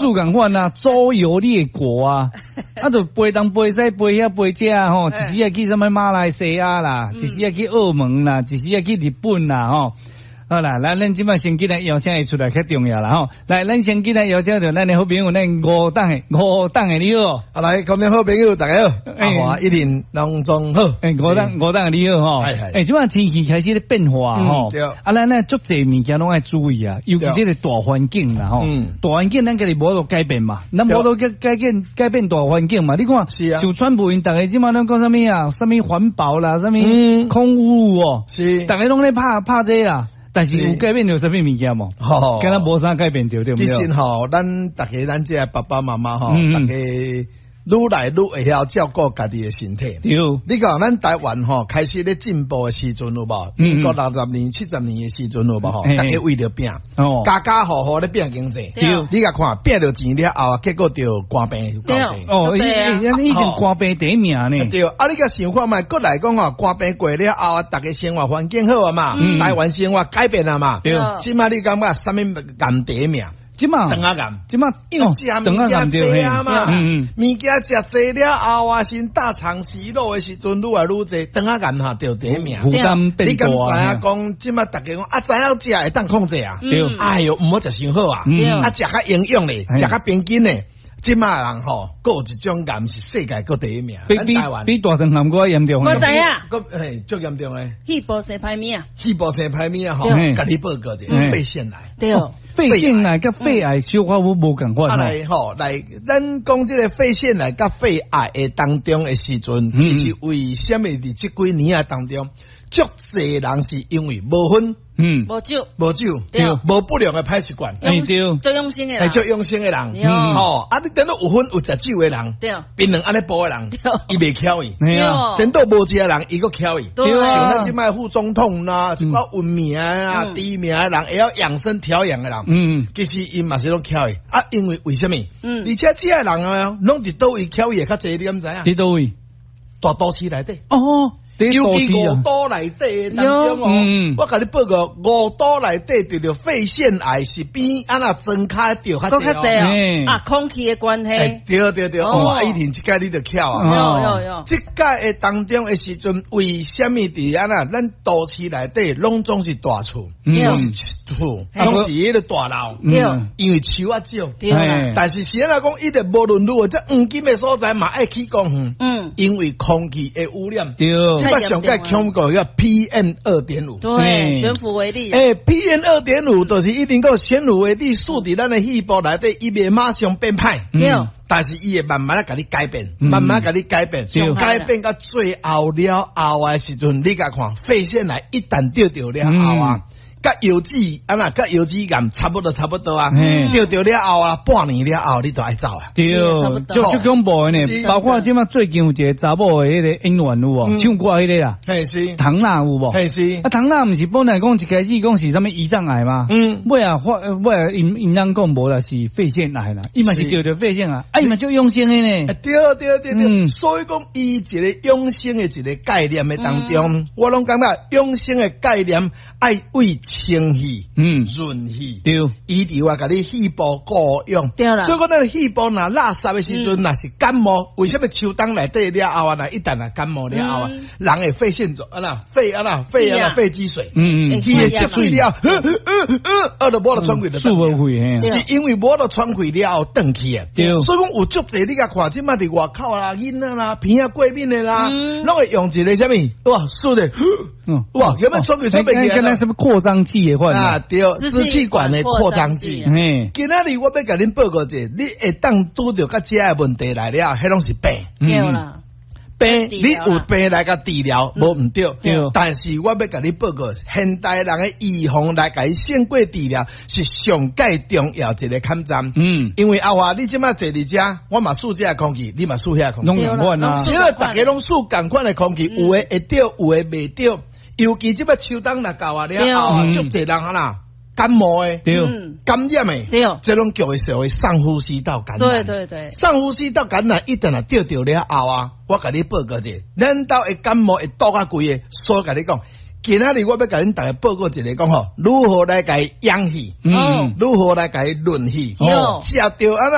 做仝款啊，周遊列國啊，啊就飛東飛西，飛遐飛遮吼，一時啊去啥物馬來西亞啦，一時啊去澳門啦，一時啊去日本啦吼。好啦，咱這擺先緊來邀請伊出來較重要啦吼。來，咱先緊來邀請著咱的好朋友，咱吳董的吳董的你好。啊，來，各位好朋友，大家好，阿華一定攏總好。欸，吳董吳董的你好吼。係係。欸，這擺天氣開始咧變化吼。對。啊，咱咧足濟物件攏愛注意啊，尤其這個大環境啦吼。大環境咱家己無法度改變嘛，咱無法度改變改變大環境嘛。你看，像川普𪜶逐家這擺攏講啥物啊？啥物環保啦，啥物空污哦。逐家攏咧拍拍這啦。但是有改變著啥物物件無？敢若無啥改變著，對毋對？其實吼，咱逐家咱這爸爸媽媽吼，逐家愈來愈會曉照顧家己的身體。對。你講咱台灣吼開始咧進步的時陣有無？民國60年、70年的時陣有無？吼，逐家為著拼，家家戶戶咧拼經濟。對。你共看拼著錢了後，結果著肝病夠濟。哦，以前肝病第一名呢。對。啊，你共想看覓，閣來講吼，肝病過了後啊，逐家生活環境好啊嘛，台灣生活改變啊嘛。對。這擺你感覺啥物癌第一名？這擺腸仔癌，這擺因為食物件濟啊嘛，物件食濟了後啊，先大腸息肉的時陣愈來愈濟，腸仔癌哈著第一名。負擔變你敢知大。影講，這擺逐家講啊，知影食會當控制啊？對。哎喲，毋好食傷好啊，啊，食較營養咧，食較平均咧。這擺人吼，閣有一種癌是世界閣第一名，比比比大腸癌閣較嚴重。我知影，閣嘿足嚴重咧。肺部生歹物啊！肺部生歹物啊！吼，共你報告者，肺腺癌。對，肺腺癌佮肺癌小可無仝款。啊來吼，來，咱講這個肺腺癌佮肺癌的當中的時陣，其實為啥物佇這幾年啊當中，足濟人是因為無薰，無酒，無酒，對，無不良的歹習慣，對，做養生的人，做養生的人，吼，啊，你等到有薰有食酒的人，對，檳榔按呢補的人，伊袂巧伊，對，等到無食的人，伊閣巧伊，對，像咱這擺副總統啦，一寡有名啊、知名的人，會曉養生調養的人，其實𪜶嘛是攏巧伊，啊，因為為啥物？而且這个人啊，攏佇佗位巧伊會較濟，你敢知影？佇佗位？大都市內底。哦。尤其五都內底當中哦，我共你報告，五都內底得著肺腺癌是比按那莊跤著較濟哦。啊，空氣的關係。對對對，哦，以前這擺你就巧啊。有有有。這擺的當中的時陣，為啥物佇按那咱都市內底攏總是大厝，攏是厝，攏是彼個大樓。對。因為樹仔少。對。但是是按怎講，伊就無論如何，這黃金的所在嘛愛起公園。因為空氣的污染。對。這擺上蓋恐怖叫 PM 2.5，對，懸浮微粒。欸，PM 二點五就是一定閣懸浮微粒，輸佇咱的肺部內底，伊袂馬上變歹。對。但是伊會慢慢仔共你改變，慢慢共你改變，改變到最後了後的時陣，你共看肺腺癌一旦得著了後啊，佮腰子按怎，佮腰子癌差不多差不多啊，得著了後啊，半年了後你就愛走啊。對，足足恐怖的呢。包括這擺最近有一個查某的彼個演員有無？唱歌彼個啦，嘿是。唐娜有無？嘿是。啊，唐娜毋是本來講一開始講是啥物胰臟癌嗎？尾仔發尾仔𪜶𪜶人講無啦，是肺腺癌啦。伊嘛是得著肺腺癌，啊，伊嘛足養生的呢。對對對對，所以講伊一個養生的一個概念的當中，我攏感覺養生的概念愛為清氣、潤氣，對，伊就話共你肺部顧養。對啦。所以講，咱肺部若垃圾的時陣，若是感冒，為啥物秋冬內底了後啊，若一旦若感冒了後啊，人會肺腺腫，啊啦，肺啊啦，肺啊啦，肺積水，伊會積水了，啊，就無法度喘氣就。舒無肺，是因為無法度喘氣了後斷氣啊。對。所以講有足濟你共看，這擺佇外口啦，囡仔啦，鼻仔過敏的啦，攏會用一個啥物？哇，輸的，哇，有沒有喘氣喘袂起來？那什麼擴張劑的話啊，對，支氣管的擴張劑。今仔日我欲共恁報告者，你會當拄著佮這个問題來了，彼攏是病。對啦。病，你有病來共治療，無毋對。但是我欲共你報告，現代人的預防來共伊勝過治療，是上蓋重要一個坎站。因為阿華，你這擺坐佇遮，我嘛吸這个空氣，你嘛吸遐空氣。攏仝款啊。是啊，逐家攏吸仝款的空氣，有的會著，有的袂著。尤其這擺秋冬若到啊了後啊，足濟人啊啦。感冒的，對，感染的，對，這攏叫做所謂上呼吸道感染。對對對，上呼吸道感染一旦若著著了後啊，我共你報告者，咱兜的感冒會倒較規个，所以共你講，今仔日我欲共恁逐家報告一个講吼，如何來共伊養氣，如何來共伊潤氣，食著按怎。